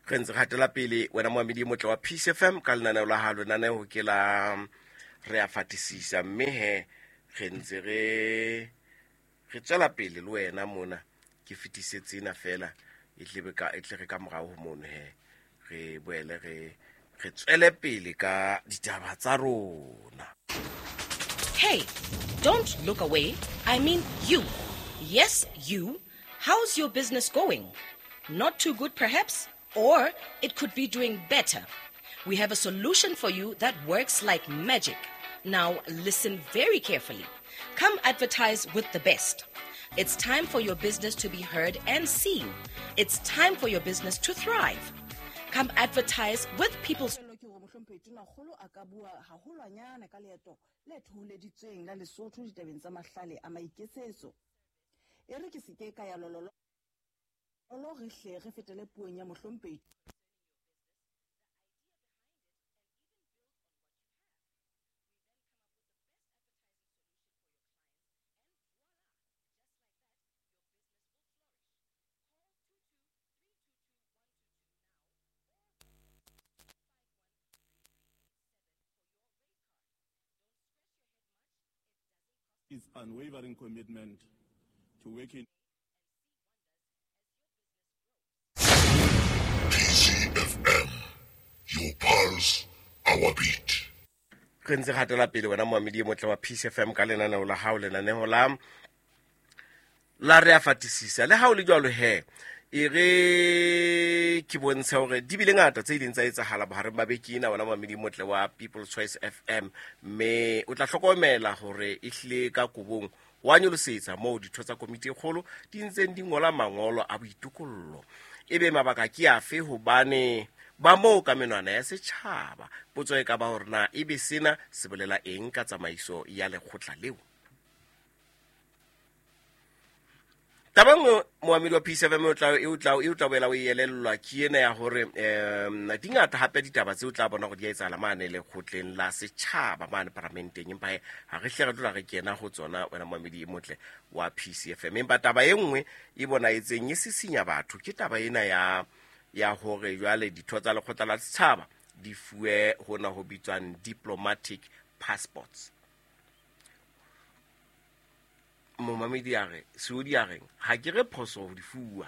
Re ntse re hatela pele wena moamedi e motle wa Peace FM ka lenaneo la hao, lenaneo ke la re a fatisisa, mme he re ntse re re tswela pele le wena mona. Ke fetise tsena fela e tle ka e tle re ka morao ho mono he re boele re re tswele pele ka ditaba tsa rona. Hey, don't look away. I mean you. Yes, you. How's your business going? Not too good, perhaps? Or it could be doing better. We have a solution for you that works like magic. Now, listen very carefully. Come advertise with the best. It's time for your business to be heard and seen. It's time for your business to thrive. Come advertise with People's Ke hore mohlomphehi Tonakgolo a ka bua haholwanyane ka leeto le thoholeditsweng la Lesotho ditabeng tsa mahlale a maiketsetso. E re ke se ke ka ya lolololo re hle re fetele puong ya mohlomphehi Its unwavering commitment to working PCFM, your pulse, our beat. Re ntse re hatela pele wena moamedi e motle wa Peace FM ka lenaneo la hao, lenaneo la la re a fatisisa. Le ha o le jwalo he, e re ke bontshe hore di bile ngata tse ileng tsa etsahala bohareng ba beke ena wena moamedi e motle wa People's Choice FM, mme o tla hlokomela hore e hlile ka kobong wa nyolosetsa moo ditho tsa komiti e kgolo di ntseng di ngola mangolo a boitokollo. Ebe mabaka ke afe? Hobane ba moo ka menwana ya setjhaba. Potso e ka ba hore na ebe sena se bolela eng ka tsamaiso ya lekgotla leo. Taba e nngwe moamedi wa Peace FM e o tla boela o e elellwa ke ena ya hore di ngata hape ditaba tseo o tla bona hore di a etsahala mane lekgotleng la setjhaba mane paramenteng, empa he ha re hle re tlola re kena ho tsona wena moamedi e motle wa Peace FM. Empa taba e nngwe e bonahetseng e sisinya batho ke taba ena ya hore jwale ditho tsa lekgotla la setjhaba di fuwe hona ho bitswang diplomatic passports. Momamedi a re, Seodi a reng, ha ke re phoso ho di fuwa,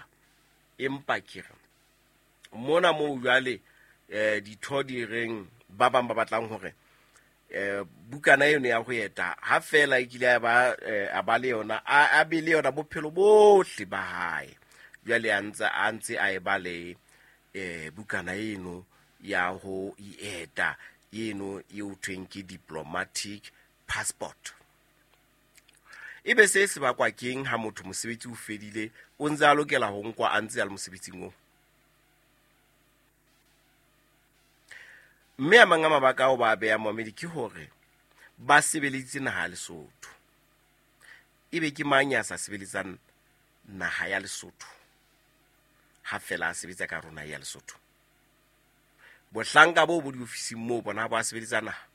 empa ke re mona moo jwale ditho di reng ba bang ba batlang hore bukana eno ya ho eta ha fela e kile a ba le yona, a be le yona bophelo bohle ba hae. Jwale a ntse a e ba le bukana eno ya ho eta eno e ho thweng ke diplomatic passport. Ebe se se bakwa keng ha motho mosebetsi o fedile, o ntse a lokela ho nkwa a ntse a le mosebetsing oo? Mme a mang a mabaka ao ba a behang moamedi ke hore ba sebeleditse naha ya Lesotho. Ebe ke mang ya sa sebeletsang naha ya Lesotho ha fela a sebetsa ka rona ya Lesotho? Bohlanka bo bo diofising moo bona ba sebeletsa naha.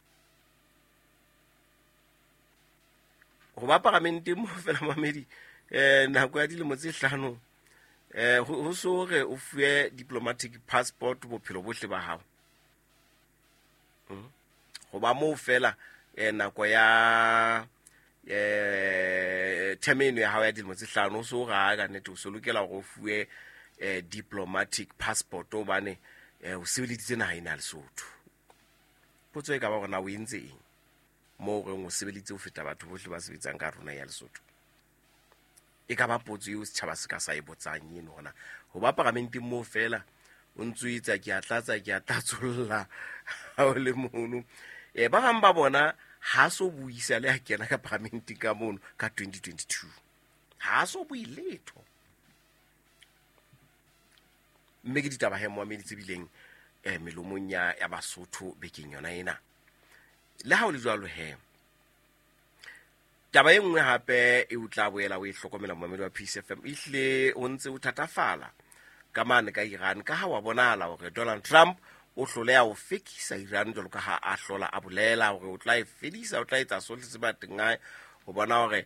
Ho ba paramenteng moo fela moamedi, nako ya dilemo tse hlano, ho so re o fuwe diplomatic passport bophelo bohle ba hao. Ho ba moo fela, nako ya term eno ya hao ya dilemo tse hlano, o so re ha ka nnete o so lokela hore o fuwe diplomatic passport hobane o sebeleditse naha ena ya Lesotho. Potso e ka ba hore na o entse eng moo reng o sebeleditse ho feta batho bohle ba sebetsang ka rona ya Lesotho? E ka ba potso eo setjhaba se ka sa e botsang eno hona. Ho ba paramenteng moo fela o ntso etsa ke a tlatsa, ke a tlatsolla ha o le mono. Ba bang ba bona ha so buisa le ha kena ka paramenteng ka mono ka 2022. Ha so bue letho. Mme ke ditaba he moamedi tse bileng melomong ya Basotho bekeng yona ena. Le ha o le jwalo he, taba e nngwe hape e o tla boela o e hlokomela moamedi wa Peace FM, ehlile o ntse o thatafala ka mane ka Iran, ka ha wa bonahala hore Donald Trump o hloleha ho fekisa Iran jwalo ka ha a hlola a bolela hore o tla e fedisa, o tla etsa sohle se bateng hae ho bona hore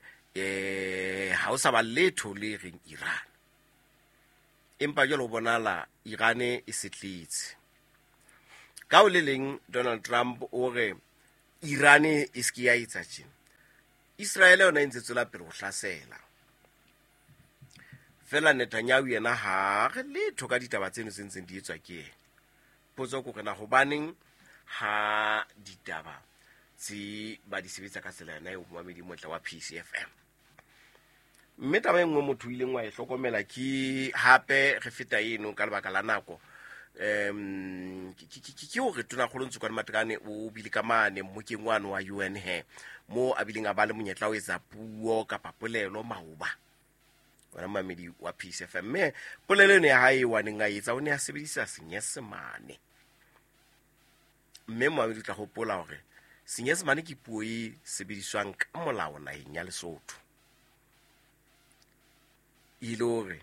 ha o sa ba letho le reng Iran. Empa jwale ho bonahala Iran e setletse. Ka ho le leng Donald Trump o re Iran e se ke ya etsa tjena. Israel yona e ntse tswela pele ho hlasela. Fela Netanyahu yena ha re letho ka ditaba tseno tse ntseng di etswa ke yena. Potso ke hore na hobaneng ha ditaba tse ba di sebetsa ka tsela yona eo momamedi motle wa PCFM. Mme taba e nngwe motho o ileng wa e hlokomela ke hape re feta eno ka lebaka la nako, ke hore Tonakgolo Ntsokoane Matekane o bile ka mane mmokeng wane wa UN he, mo a bileng a ba le monyetla o etsa puo kapa polelo maoba. Wena momamedi wa PCFM, mme polelo eno ya hae wa neng a etsa o ne a sebedisa Senyesemane. Mme momamedi o tla hopola hore Senyesemane ke puo e sebediswang ka molao naheng ya Lesotho. E le hore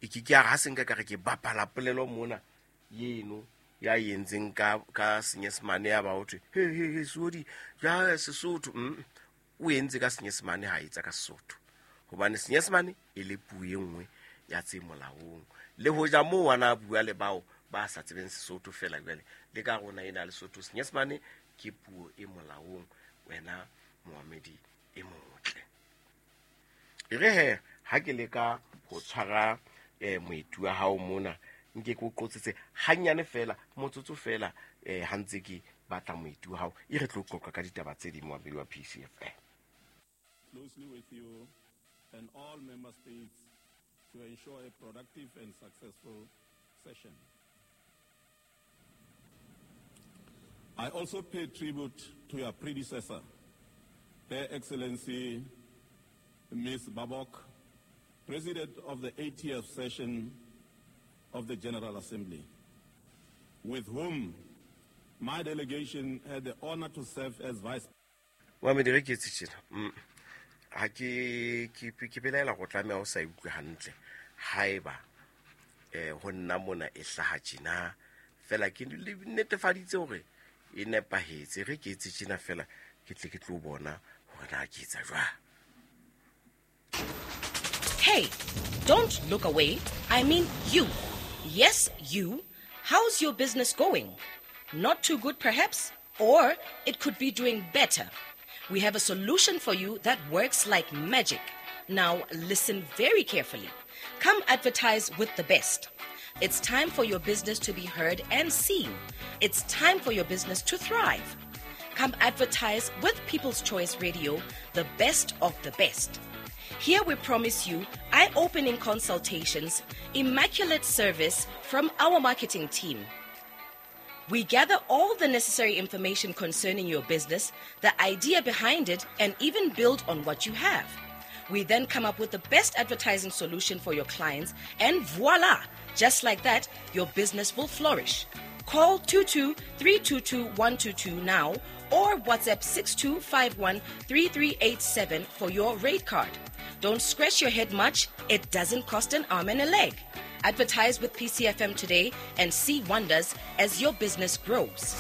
e ke ke ya re ha se nka ka re ke bapala polelo mona eno ya entseng ka Senyesemane ya ba ho thwe, he, he, he, Seodi, ja Sesotho. O entse ka Senyesemane ha etsa ka Sesotho. Hobane Senyesemane e le puo e nngwe ya tse molaong. Le hoja moo wa na bua le bao ba sa tsebeng Sesotho fela jwale, le ka rona ena Lesotho, Senyesemane ke puo e molaong, wena moamedi e motle. E re he, ha ke leka ho tshwara moeti wa hao mona, nke ke o qotsetse hanyane fela, motsotso fela, ha ntse ke batla moeti wa hao, e re tlo qoqa ka ditaba tse ding moamedi wa PCFM. Closely with you and all member states to ensure a productive and successful session. I also pay tribute to your predecessor, Her Excellency Ms. Baerbock, President of the 80th session of the General Assembly, with whom my delegation had the honor to serve as Vice. Wa me dire ke tse tjena. Ha ke belaela go tlameha o sa utlwe hantle haeba ho nna mona e hlaha tjena fela ke netefaditse hore e nepahetse. Re ke etse tjena fela ke tle ke tlo bona hore na ke etsa jwang. Hey, don't look away. I mean you. Yes, you. How's your business going? Not too good perhaps, or it could be doing better. We have a solution for you that works like magic. Now listen very carefully. Come advertise with the best. It's time for your business to be heard and seen. It's time for your business to thrive. Come advertise with People's Choice Radio, the best of the best. Here we promise you eye-opening consultations, immaculate service from our marketing team. We gather all the necessary information concerning your business, the idea behind it, and even build on what you have. We then come up with the best advertising solution for your clients, and voila! Just like that, your business will flourish. Call 22-322-122 now or WhatsApp 6251-3387 for your rate card. Don't scratch your head much. It doesn't cost an arm and a leg. Advertise with PCFM today and see wonders as your business grows.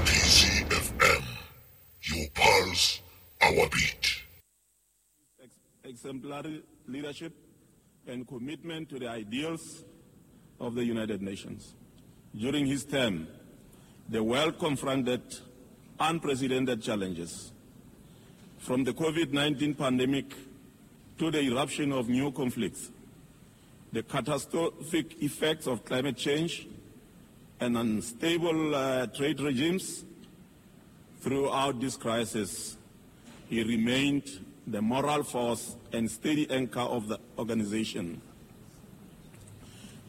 PCFM, your pulse, our beat. Exemplary leadership and commitment to the ideals of the United Nations. During his term, the world confronted unprecedented challenges, from the COVID-19 pandemic to the eruption of new conflicts, the catastrophic effects of climate change, and unstable trade regimes. Throughout this crisis, he remained the moral force and steady anchor of the organization.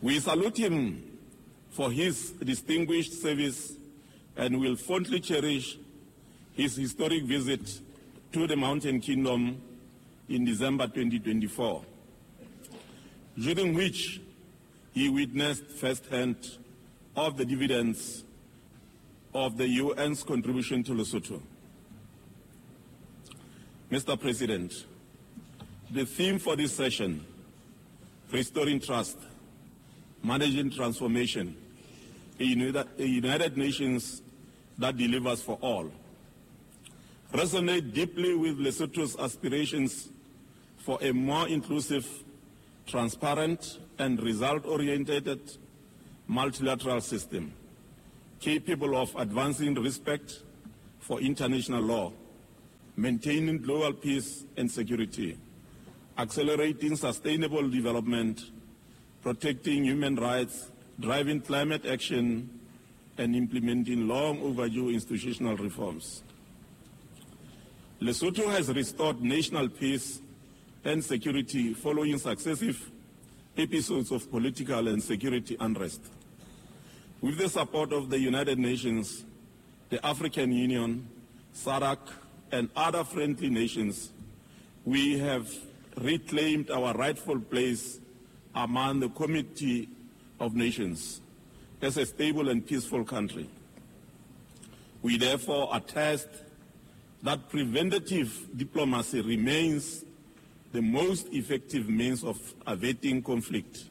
We salute him for his distinguished service and will fondly cherish his historic visit to the Mountain Kingdom in December 2024, during which he witnessed firsthand of the dividends of the UN's contribution to Lesotho. Mr. President, the theme for this session, Restoring Trust, Managing Transformation, a United Nations that delivers for all, resonate deeply with Lesotho's aspirations for a more inclusive, transparent, and result-oriented multilateral system capable of advancing respect for international law, maintaining global peace and security, accelerating sustainable development, protecting human rights, driving climate action, and implementing long overdue institutional reforms. Lesotho has restored national peace and security following successive episodes of political and security unrest. With the support of the United Nations, the African Union, SADC, and other friendly nations, we have reclaimed our rightful place among the Committee of Nations as a stable and peaceful country. We therefore attest that preventative diplomacy remains the most effective means of averting conflict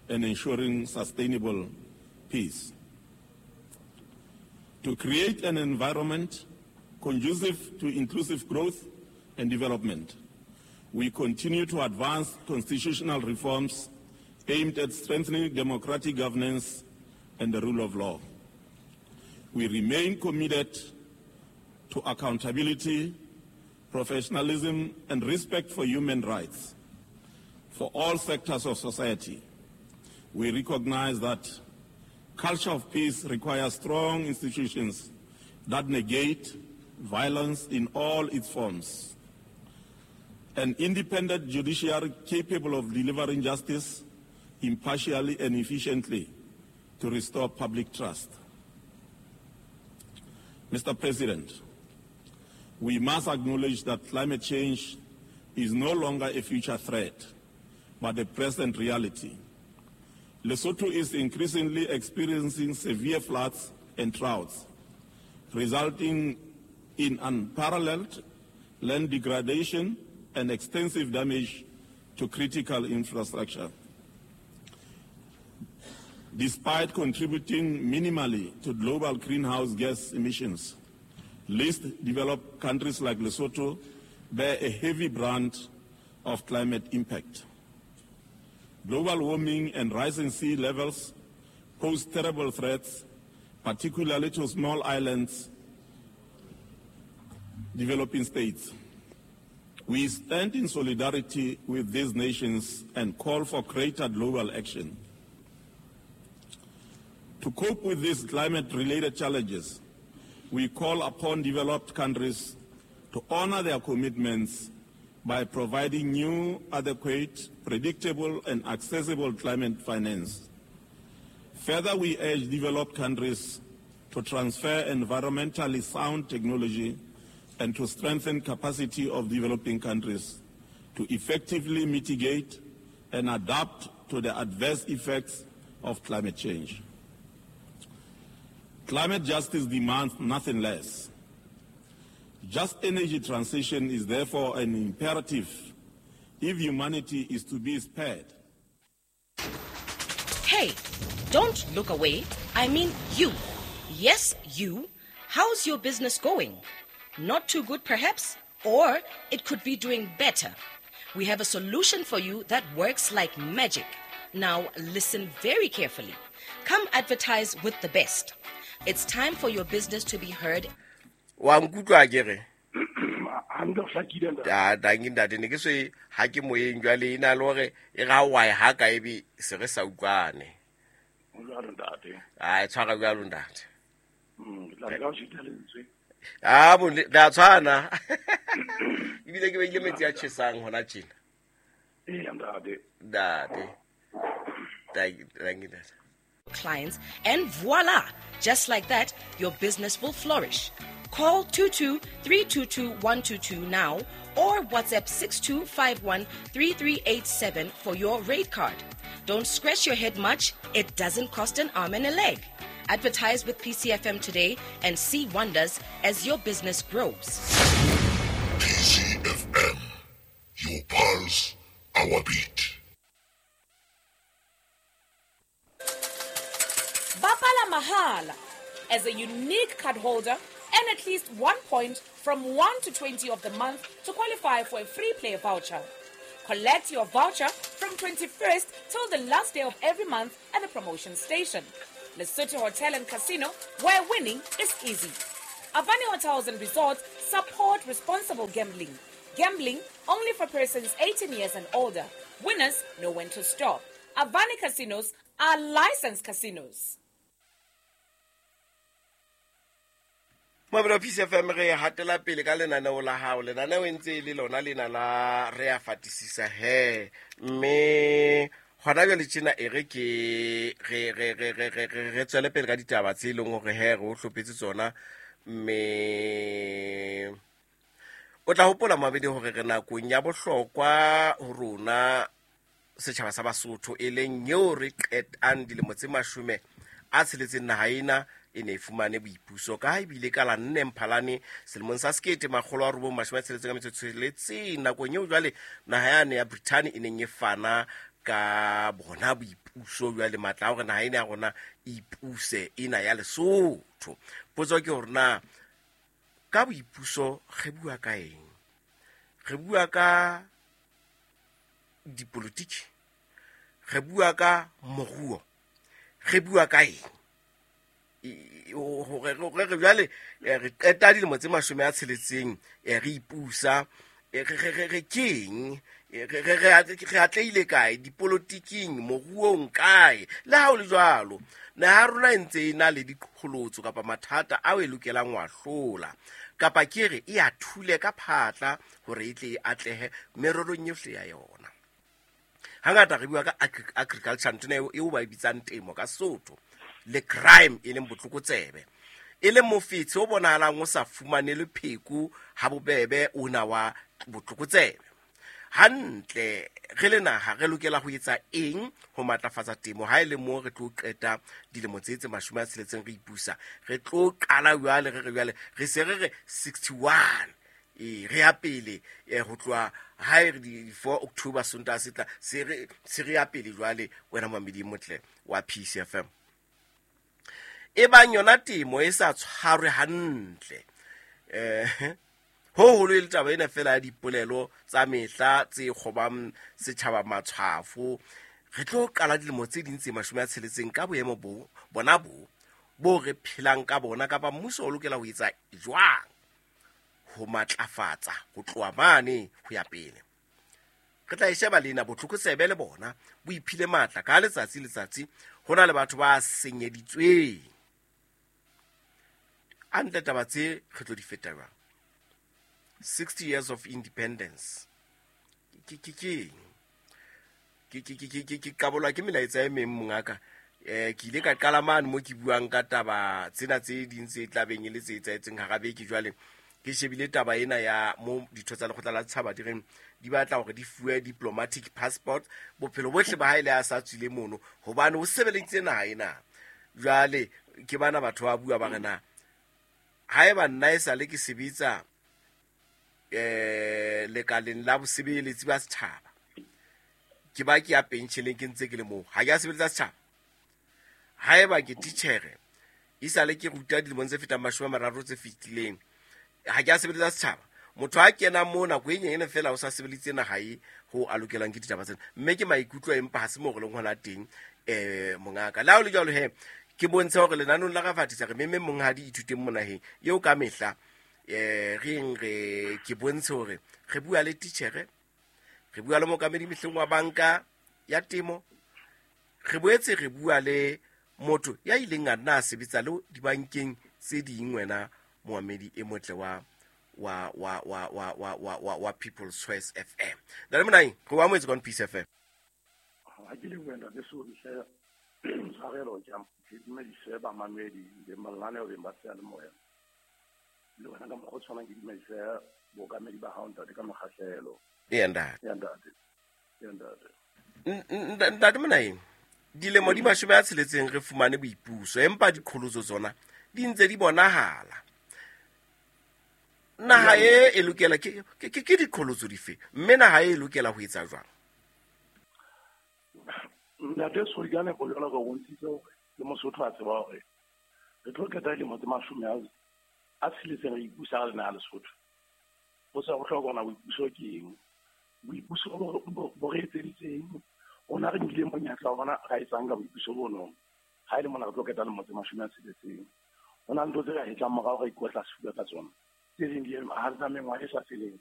and ensuring sustainable peace. To create an environment conducive to inclusive growth and development, we continue to advance constitutional reforms aimed at strengthening democratic governance and the rule of law. We remain committed to accountability, professionalism, and respect for human rights for all sectors of society. We recognize that culture of peace requires strong institutions that negate violence in all its forms. An independent judiciary capable of delivering justice impartially and efficiently to restore public trust. Mr. President, we must acknowledge that climate change is no longer a future threat, but a present reality. Lesotho is increasingly experiencing severe floods and droughts, resulting in unparalleled land degradation and extensive damage to critical infrastructure. Despite contributing minimally to global greenhouse gas emissions, least developed countries like Lesotho bear a heavy brunt of climate impact. Global warming and rising sea levels pose terrible threats, particularly to small islands, developing states. We stand in solidarity with these nations and call for greater global action. To cope with these climate-related challenges, we call upon developed countries to honor their commitments by providing new, adequate, predictable, and accessible climate finance. Further, we urge developed countries to transfer environmentally sound technology and to strengthen capacity of developing countries to effectively mitigate and adapt to the adverse effects of climate change. Climate justice demands nothing less. Just energy transition is therefore an imperative if humanity is to be spared. Hey, don't look away. I mean you. Yes, you. How's your business going? Not too good, perhaps? Or it could be doing better. We have a solution for you that works like magic. Now, listen very carefully. Come advertise with the best. It's time for your business to be heard. Wa nkutlwa ke re danki ntate ne ke se ha ke moyeng jwale e na le hore e ga wa e ha ka ebe se re sa utlwane. A e tshwara jwalo ntate. Ah bo re a tshwana. Ebile ke beile metsi a tjhesang hona tjena. Ntate. Ntate. Danki ntate. Clients, and voila, just like that, your business will flourish. Call 22-322-122 now or WhatsApp 6251-3387 for your rate card. Don't scratch your head much. It doesn't cost an arm and a leg. Advertise with PCFM today and see wonders as your business grows. PCFM, your pulse, our beat. Bapala Mahala. As a unique card holder, earn at least 1 point from 1 to 20 of the month to qualify for a free play voucher. Collect your voucher from from 21st till the last day of every month at the promotion station. Lesotho Hotel and Casino, where winning is easy. Avani Hotels and Resorts support responsible gambling. Gambling only for persons 18 years and older. Winners know when to stop. Avani Casinos are licensed casinos. Mabelo Peace FM re hatela pele ka lenaneo la hao. Lenaneo e ntse e le lona lena la re a fatisisa he. Mme hona jwale tjena e re ke re tswele pele ka ditaba tse leng hore he re o hlophetse tsona. Mme o tla hopola mabedi hore re nakong ya bohlokwa ho rona setjhaba sa Basotho e leng eo re qetang dilemo tse 60 naha ena e ne e fumane boipuso ka ha ebile ka la 4 Mphalane selemong sa 1966 nakong eo jwale naha yane ya Britain e neng e fana ka bona boipuso jwale matla a hore naha ena ya rona e ipuse ena ya Lesotho. Potso ke hore na ka boipuso re bua ka eng? Re bua ka dipolitiki, re bua ka moruo, re bua ka eng? Hore re jwale re qeta dilemo tse 60 re ipusa, re keng? Re atlehile kae dipolotiking, moruong kae? Le ha ho le jwalo, naha ya rona e ntse e na le diqholotso kapa mathata ao e lokelang ho a hlola, kapa ke re e a thule ka phatla hore e tle e atlehe mererong yohle ya yona. Hangata re bua ka agriculture, ntho eo ba e bitsang temo ka Sesotho, le crime e leng botlokotsebe, e leng mofetshe o bonahalang o sa fumanelwe pheko ha bobebe ona wa botlokotsebe. Hantle re le naha re lokela ho etsa eng ho matlafatsa temo ha e le mo re tlo qeta dilemo tse 60 re ipusa? Re tlo qala jwale re re jwale re se re re 61 re ya pele ho tloha ha e re di 4 October Sontaha se tla se re ya pele jwale wena mamedi motle wa Peace FM. E bang yona temo e sa tshwarwe hantle, ho holo e le taba ena fela ya dipolelo tsa mehla tse kgobang setjhaba matshwafo. Re tlo qala dilemo tse ding tse 60 ka boemo bo bona bo re phelang ka bona, kapa mmuso o lokela ho etsa jwang ho matlafatsa ho tloha mane ho ya pele? Re tla e sheba lena botlokotsebe le bona bo iphile matla ka letsatsi letsatsi. Ho na le batho ba senyeditsweng. A ntle taba tse re tlo di feta jwang? 60 years of independence ke qabolwa ke melaetsa e meng mongaka. Ke ile ka qala mane mo ke buang ka taba tsena tse ding tse tlabeng e le tse etsahetseng hara beke. Jwale ke shebile taba ena ya mo ditho tsa lekgotla la setjhaba di reng di batla hore di fuwe diplomatic passport bophelo bohle ba hae le a sa tswile mono hobane o sebeleditse naha ena. Jwale ke bana batho ba bua ba re na haeba nna e sale ke sebetsa lekaleng la bosebeletsi ba setjhaba, ke ba ke ya pensheleng ke ntse ke le moo, ha ke a sebeletsa setjhaba. Haeba ke titjhere e sale ke ruta dilemong tse fetang 30 tse fetileng, ha ke a sebeletsa setjhaba. Motho a kena moo nako e nyenyane fela o sa sebeleditse naha e ho a lokelang ke ditaba tsena. Mme ke maikutlo empa ha se moo re leng hona teng mongaka. Le ha ho le jwalo he, ke bontshe hore lenanong la Rafatisa re memme monghadi ithuteng monaheng eo ka mehla re re ke bontshe hore re bua le titjhere, re bua le mookamedi mehleng wa banka ya temo, re boetse re bua le motho ya ileng a nna a sebetsa le dibankeng tse ding wena moamedi e motle wa wa wa wa wa wa wa wa wa People's Choice FM. Ntate Monaheng, re o amohetse kwano Peace FM. Ha ke le wena le so hle tshwarelo ke dumedise bamamedi le mananeo beng ba seyalemoya. Le wena ka mokgwa o tshwanang ke dumedise bookamedi ba hao ntate ka mokgahlelo. Eya ntate. Eya ntate. Eya ntate. Ntate Monaheng, dilemo di 60 re fumane boipuso, empa diqholotso tsona di ntse di bonahala. Naha e lokela ke diqholotso dife, mme naha e lokela ho etsa jwang? Ntate Solikane go jwalo ka bontshitse hore le Mosotho a tseba hore re tlo qeta dilemo tse 60 re ipusa re naha Lesotho. Ho sa bohlokwa hore na boipuso ke eng, boipuso bo re etseditseng, Rona re nkile monyetla wa bona ra etsang ka boipuso bono. Ha e le mona re tlo qeta lemo tse 60. Ho na le ntho tse re hetlang morao re ikotla sefuba ka tsona. Tse ding di ha re tsa mengwaha e sa feleng.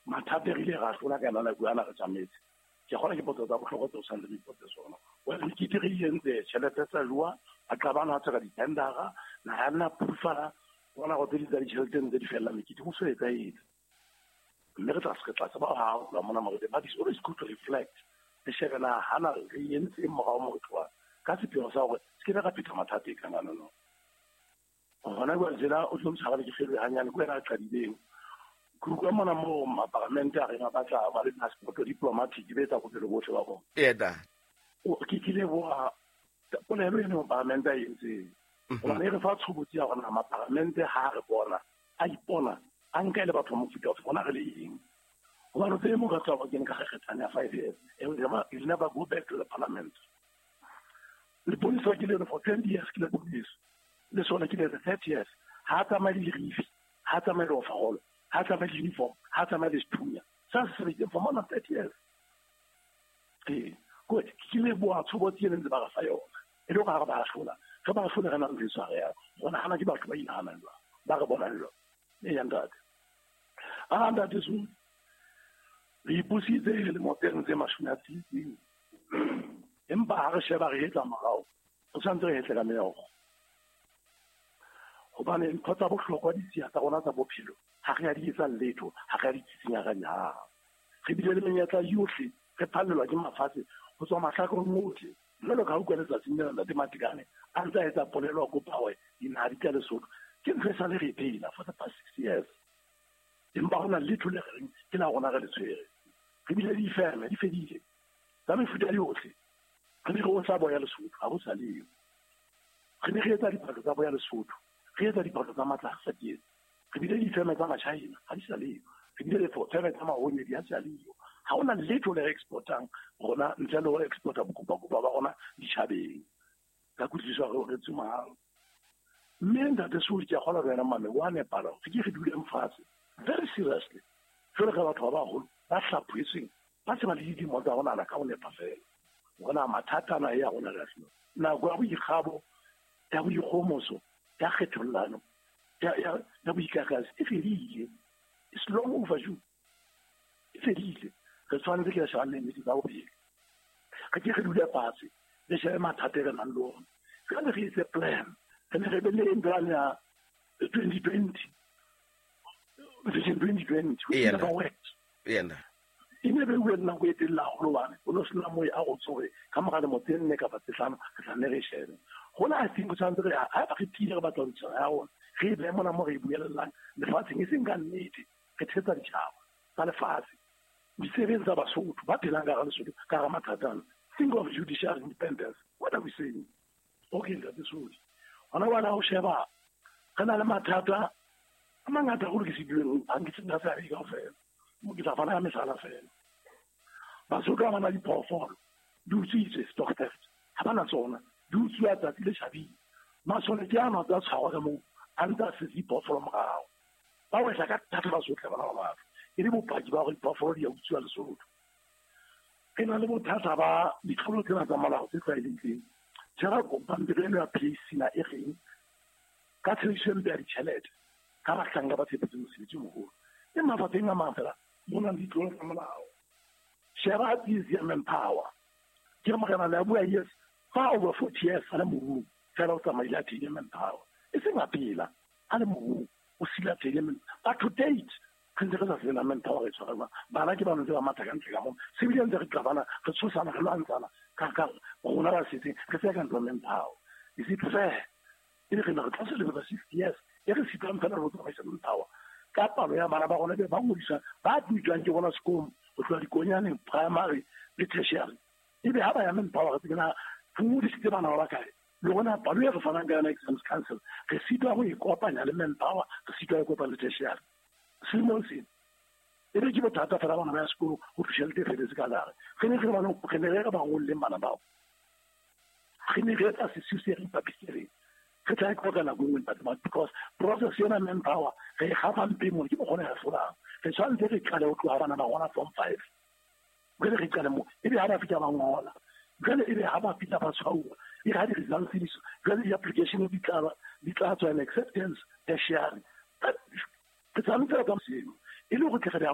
Mathata re ile ra hlola ka yona nako ana re tsamaetse. Ke kgona ke potso tsa bohlokwa tseo tshwanetse re ipotse tsona. Well, mekete re e entse tjhelete tsa jowa, a qabana a tseka di-tendera, naha ya nna phufala, bona go tse ding tsa ditjhelete ntse di fella mekete ho so etsahetse. Mme re tla tseba ha ho tloha mona morete, but it's always good to reflect. Re shebe na hana re entse eng morao mo re tlohang ka sepheo sa hore se ke be ra phetha mathata e kang ano no. Hona jwale tjena o tlo ntshwara ke feloe hanyane ke wena a qadileng. Ke utlwa mona moo maparamente a reng a batla ba le passport diplomatic be etsa bophelo bohle ba bona. Eda. Ke ke leboha polelo eno maparamente a entseng. Hobane e re fa tshobotsi ya hore na maparamente ha re bona, a ipona, a nka e le batho ba mofuta ofe, rona re le eng. Hobane o tsebe mo ka tswa kene ka kgekgethane ya 5 years, and you'll never go back to the parliament. Leponesa ke le for 20 years ke leponesa. Le sona ke le 30 years. Ha tsamaye le dirifi, ha tsamaye le overall, ha tsamaye le uniform, ha tsamaye le sethunya. Sa se sebeditseng for more than 30 years. Ee, ke leboha tshobotsi e ntse ba re fa yona. E le hore ha re ba hlola, re ba hlole re na le ntho e tshwarehang. Rona hana ke batho ba inahanang jwang, ba re bonang jwang. Eya ntate. A ntate Sudi, re ipusitse lemo tse 60. Empa ha re sheba re hetla morao, re tshwanetse re hetle ka meokgo. Hobane ntho tsa bohlokwa ditshiya tsa rona tsa bophelo ha re a di etsa letho, ha re a di tsitsinya ka nyang. Re bile le menyetla yohle, re phallelwa ke mafatshe ho tswa mahlakoreng ohle. Jwalo ka ha utlwa letsatsing lena ntate Matekane a ntse a etsa polelo a kopa hore dinaha di tla Lesotho. Ke ntho e sale re e phela for the past 6 years. Empa hona letho le re reng ke la rona re le tshwere. Re bile le difeme di fedile tsa mefuta yohle. Re ne re otla boya Lesotho, ha ho sa leyo. Re ne re etsa diphahlo tsa boya Lesotho, re etsa diphahlo tsa matlasa sa dietse. Re bile le difeme tsa Machina, ha di sa leyo. Re bile le feme tsa mahonedi, ha di sa leyo. Ha hona letho le re exportang rona ntle le ho exporta bokopakopa ba rona ditjhabeng. Ka kutlwisiso hore re tsomang. Mme ntate Sudi, ke a kgolwa le wena mame, wa nepala hore ke re duleng fatshe very seriously. Jwalo ka batho ba baholo ba hlaphohetsweng, ba se ba le dilemo tsa ho nahana ka ho nepa fela. Hore na mathata ana e ya rona re a hlolwa. Nako ya boikgabo, ya boikgohomoso, ya kgethollano, ya boikakasi e fedile. It's long overdue. E fedile. Re tshwanetse ke re shebane le nnete tsa bophelo. Re ke re dule fatshe, re shebe mathata e re nang le ona. Jwale re etse plan. Re ne re be le plan ya 2020. Vision 2020, which never worked. E ne be bue nako e telele haholo hobane o no sena moo a go tsoge ka mora lemo tse 4 kapa tse 5 re tla nne re shebe. Hona I think tshwanetse re ha ba re tiile re batla ho ntshana ya rona, re e behe mona mo re e buelellang lefatsheng, e seng ka nnete re thetsa ditjhaba tsa lefatshe. Ditsebeng tsa Basotho ba phelang ka hara Lesotho ka hara mathata ana. Think of judicial independence. What are we saying? Okay, ntate Sudi. Hona jwale ha o sheba re na le mathata a mangata haholo ke se bueng, ha nke se nna seabe kaofela. Mo ke tla fana ka mehlala fela. Basotho ha ba na diphoofolo, di utswitswe, stock theft. Ha ba na tsona, di utsuwa tsatsi le tjhabile. Masole ke ano a tsa tshwarwa ka moo, a ntse a setse diphoofolo morao. Ba wehla ka thata Basotho bana ba batho. E le bopaki ba hore diphoofolo di a utsuwa Lesotho. Re na le bothata ba ditlolo tsena tsa molao tse tlwaelehileng. Tshwara pampiri eno ya PAC na e reng ka tshebediso e mpe ya ditjhelete ka bahlanka ba tshepetseng mosebetsi o moholo. E mafapheng a mang fela mo nang le ditlolo tsa molao. Sheba tsietsi ya manpower. Ke re morena le a bua yes, fa over 40 years a le morung fela o tsamaile a theile manpower. E seng a phela a le morung o sila theile manpower. But to date re ntse re sa sena manpower re tshwara jwang. Bana ke ba ntse ba matha ka ntle ka moo. Se bile ntse re qabana, re tshosana, re lwantshana ka rona ba setseng re tseka ntlo manpower. Is it fair? E re re tla se lebela 60 years e re sitang fela re tsamaisa manpower. Ka palo ya bana ba rona be ba ngodisa ba tutswang ke bona sekolong ho tloha dikonyaneng primary le tertiary. Ebe ha ba ya manpower re tsena re ngodisitse bana ba bakae? Le rona palo e re fanang ka yona exams council re sitwa ho ikopanya le manpower, re sitwa ho ikopanya le tertiary. Selemong sena e be ke bothata fela bana ba ya sekolo ho tjhelete e feletse ka gare. Re ne re ba re ne re ba ngolleng bana bao. Re ne re etsa sesiu se re ipapisitseng. Re tla e qoqa nako e nngwe ntate Mike, because process yona manpower re e gafa mpe mona ke mokgwa o re hlolang. Re tshwanetse re qale ho tloha bana ba rona form 5. Jwale re qale moo, ebe ha ba fihla ba ngola, jwale ebe ha ba fihla ba tshwauwa, e re ha di-results di tswa, jwale di-application di tla di tla tswa, and acceptance tertiary. Re tshwanetse ka seno e le hore tle re.